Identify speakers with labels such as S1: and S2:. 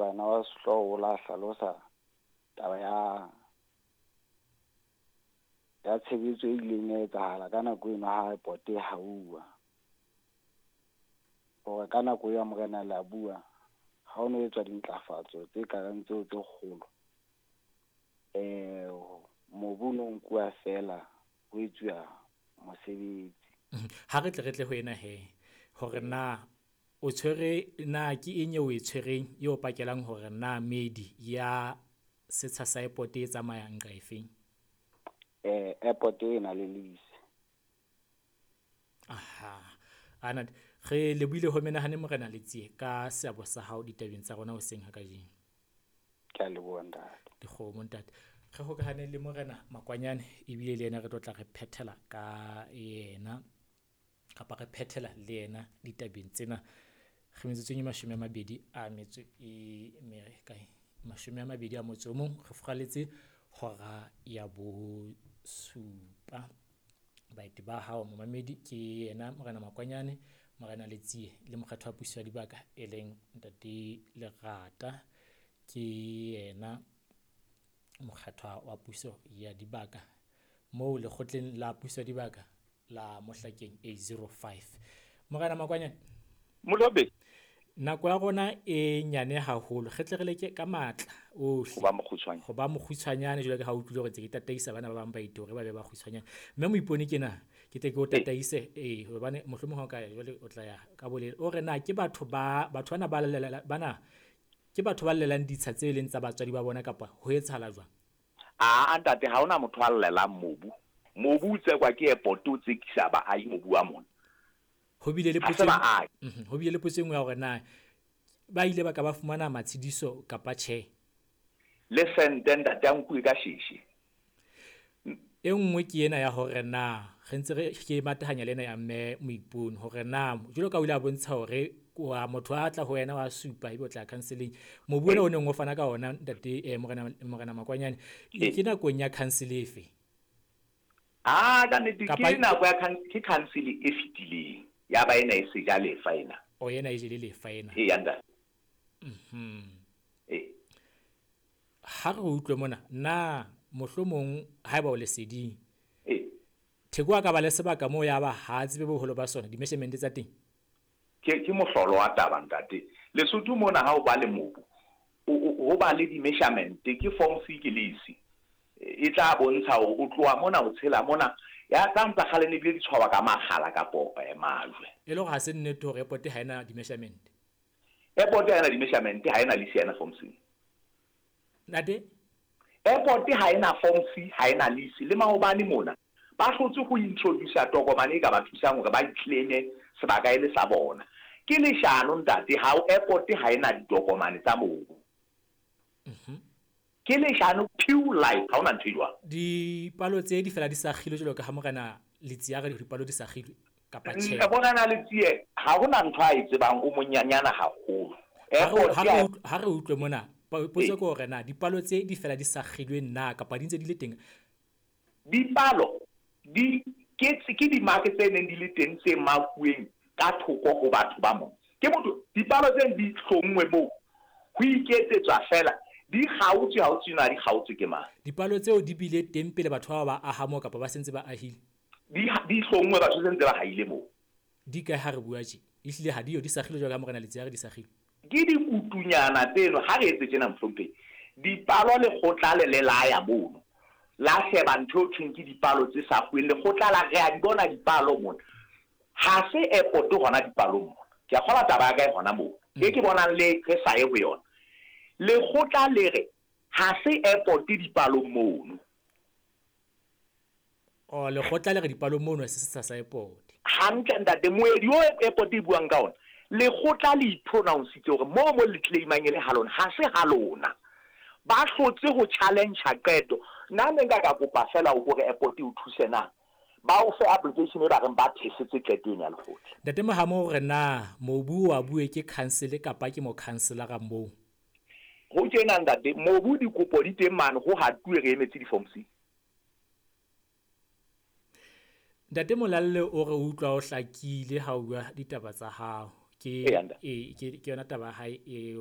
S1: Morena wa sehlooho o la hlalosa taba ya tshebetso e ileng ya etsahala ka nako eno ha airport e hauwa. Hore ka nako ya Morena Leabua ha ho no etswa dintlafatso tse kareng tseo tse kgolo. Mobu no nkuwa feela ho etsuwa mosebetsi.
S2: Ha re tle re tle ho ena he, hore na o tshwere na ke eng eo o e tshwereng e o pakelang hore na meedi ya setsha sa airport e tsamayang nqa efeng?
S1: Airport e na le lease.
S2: Aha. Ana re lebohile ho menahane Morena Letsie ka seabo sa hao ditabeng tsa rona hoseng ha kajeno.
S1: Ke a leboha ntate.
S2: Dikgomo ntate. Re hokahane le Morena Makwanyane ebile le yena re tlo tla re phethela ka yena kapa re phethela le yena ditabeng tsena. Re metsotsong e 20 a metso e kae 21 motso o mong, re furaletse hora ya 7. Baeti ba hao momamedi ke yena Morena Makwanyane, Morena Letsie le mokgatho wa puso ya dibaka e leng Ntate Lerata. Ke yena mokgatho wa puso ya dibaka moo lekgotleng la puso ya dibaka la Mohlakeng A05. Morena Makwanyane,
S3: Molobe,
S2: nako ya rona e nyane haholo, re tle re leke ka matla ohle
S3: ho ba mokgutshwane.
S2: Ho ba mokgutshwanyane jwalo ka ha o utlwile hore ntse ke tataisa bana ba bang ba ite hore ba be ba kgutshwanyane. Mme Moipone ke na ke tle ke o tataise hobane mohlomong ha o ka ya jwale o tla ya ka bolele. O re na ke batho ba batho bana ba lela bana ke batho ba llelang ditsha tse leng tsa batswadi ba bona kapa ho etsahala jwang?
S3: A ntate, ha hona motho a llelang mobu. Mobu o tsekwa ke airport, o tsekisa baahi mobu wa mona.
S2: Ho bile le
S3: Ha se
S2: potso
S3: baahi.
S2: Ho bile le potso e nngwe ya hore na ba ile ba ka ba fumana matshediso kapa tjhe.
S3: Le sente ntate a nkuwe ka sheshe.
S2: E nngwe ke ena ya hore na re ntse re ke matahanya le ena ya mme Moipone hore na jwalo ka o ile a bontsha hore wa motho a tla ho wena wa supa ebe o tla counseling. Mobu ona o neng o fana ka ona ntate Morena Makwanyane ke nakong ya council efe?
S3: Ah, ka nnete ke nako ya ke council e fetileng. Ya ba ena e seja lefa ena.
S2: O ena e jele lefa ena.
S3: E ntate.
S2: Ha re utlwe mona na mohlomong haeba o leseding. Theko a ka ba le sebaka moo ya ba ha tsebe boholo ba sona di-measurement tsa teng.
S3: Ke mohlolo wa taba ntate. Lesotho mona ha o ba le mobu, ho ba le di-measurement ke form C ke lease. E tla bontsha hore o tloha mona o tshela mona. Ya tsa ntsa kgale ne bile di tshwawa ka makgala kapo majwe.
S2: E le hore ha se nnete hore airport ha ena di-measurement.
S3: Airport ha ena di-measurement, ha ena lease, ha ena form C.
S2: Ntate?
S3: Airport ha ena form C, ha ena lease. Le maobane mona ba hlotse ho introduce tokomane e ka ba thusang hore ba iclaime sebaka e le sa bona. Ke leshano ntate, ha airport ha ena ditokomane tsa mobu. Ke leshano pure life, ha hona ntho e jwalo.
S2: Dipalo tse di fela di sa kgilwe jwalo ka ha Morena Letsie a re dipalo di sa kgilwe kapa tjhe.
S3: Morena Letsie ha hona ntho a e tsebang, o monyanyana haholo.
S2: Ha re utlwe mona, potso ke hore na dipalo tse di fela di sa kgilwe na kapa di ntse di le teng?
S3: Dipalo di ke di-mark tse neng di le teng tse makuweng ka thoko ho batho ba mona. Ke motho dipalo tse di hlonngwe moo ho iketsetswa fela di kgaotswe, ha o tswe na di kgaotswe ke mang.
S2: Dipalo tseo di bile teng pele batho ba aha moo kapa ba sentse ba ahile?
S3: Di hlonngwe batho sentse ba haile moo.
S2: Di kae ha re bua tje? Ehlile ha di yo di sa kgilwe jwalo ka Morena Letsie a re di sa kgilwe.
S3: Ke dikutunyana tseno ha re etse tjena mohlomphehi. Dipalo lekgotla le le la ya mono. La sheba ntho e thweng ke dipalo tse sa kgweng, lekgotla la re a di bona dipalo mona. Ha se airport hona dipalong mona. Ke a kgola taba ya ka e hona moo. E ke bonang le re sa ye ho yona. Lekgotla le re ha se airport dipalong mono.
S2: Oh, lekgotla le re dipalong mono se se sa airport.
S3: Hantle ntate, moedi o airport e buang ka ona. Lekgotla le ipronounce hore mo mo le claimang e le ha lona, ha se ha lona. Ba hlotse ho challenge qeto. Nna ne nka ka kopa fela o hore airport e o thuse na. Ba o fe application e ba reng ba thesetse qeto ena ya lekgotla.
S2: Ntate Mohamo hore na mobu wa bue ke council kapa ke mo councilor moo?
S3: Ho tjena ntate, mobu dikopo di teng mane ho hatuwe re emetse di-form C.
S2: Ntate Molalle o re utlwa o hlakile ha o bua ditaba tsa hao. Ke ke yona taba ya hae eo.